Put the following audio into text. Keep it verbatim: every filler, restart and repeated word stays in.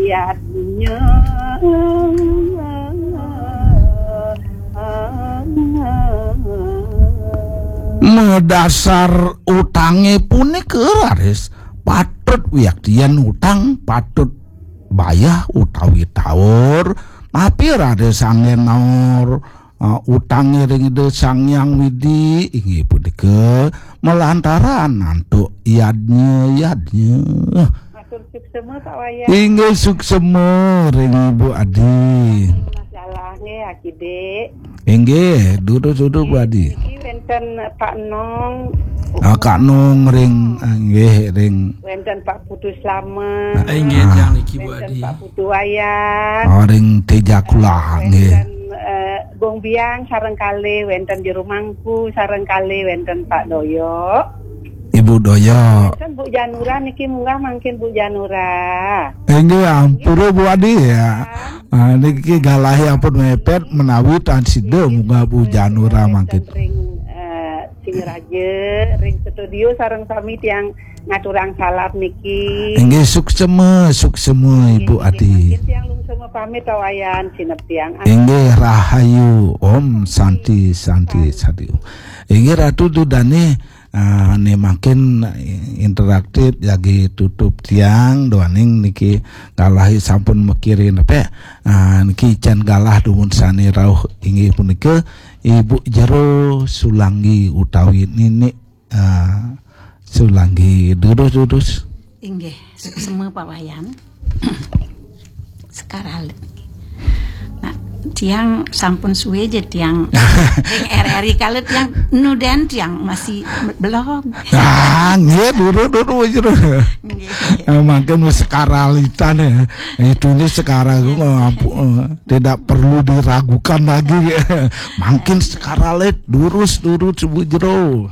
Yadnya. Medasar utangé punika raris patut wiaktian utang, patut bayah utawi taur, napi raris anggén naur uh, utangé ring Ida Sang Hyang Widi, inggih punika malantaran antuk yadnya-yadnya. Matur suksema, Pak Wayan. Inggih suksema ring Ibu Adi. Masalah nggih, Aki Dik. Inggih, durus-durus Bu Adi. Niki wénten Pak Nong. Ah, Kak Nong ring, ah, nggih, ring. Wénten Pak Putu Slamet. Ah, inggih, tiang niki, Bu Wénten Adi. Pak Putu Wayan. Ah, ring Tejakula, nggih. Wénten, eh, Gung Biang sareng kalih, wénten Jero Mangku sareng kalih, wénten Pak Doyo. Ibu Doyo. Wénten Bu Janura niki, munggah mangkin Bu Janura. Inggih, ampura Bu Adi ya. Ah, niki galahé ampun mepet menawi tan sida munggah Bu Janura mangkin. Ring, eh, Singaraja, ring studio sareng sami tiang ngaturang salam niki. Inggih suksema, suksema Ibu Adi. Mangkin tiang lungsema pamit, Pak Wayan, sineb tiang. Inggih rahayu. Om Santi, Santi, Santi. Inggih Ratu Dudane, ah, né mangkin interaktif jagi tutup tiang duaning niki galahé sampun makiré nepek. Ah, niki can galah dumun sané rauh inggih punika Ibu Jero Sulanggi utawi Nini, ah, Sulanggi. Durus, durus. Inggih, suksema Pak Wayan. Sekar alit. Nah, tiang sampun suwe ja tiang ring R R I, kalau tiang nudén tiang masih belog. Ah, nggih, durus, durus, durus. Nggih. Eh, mangkin wis sekar alitan ya. Itu ini sekarang, eh, tidak perlu diragukan lagi. Mangkin sekar alit, durus, durus, Bu Jero.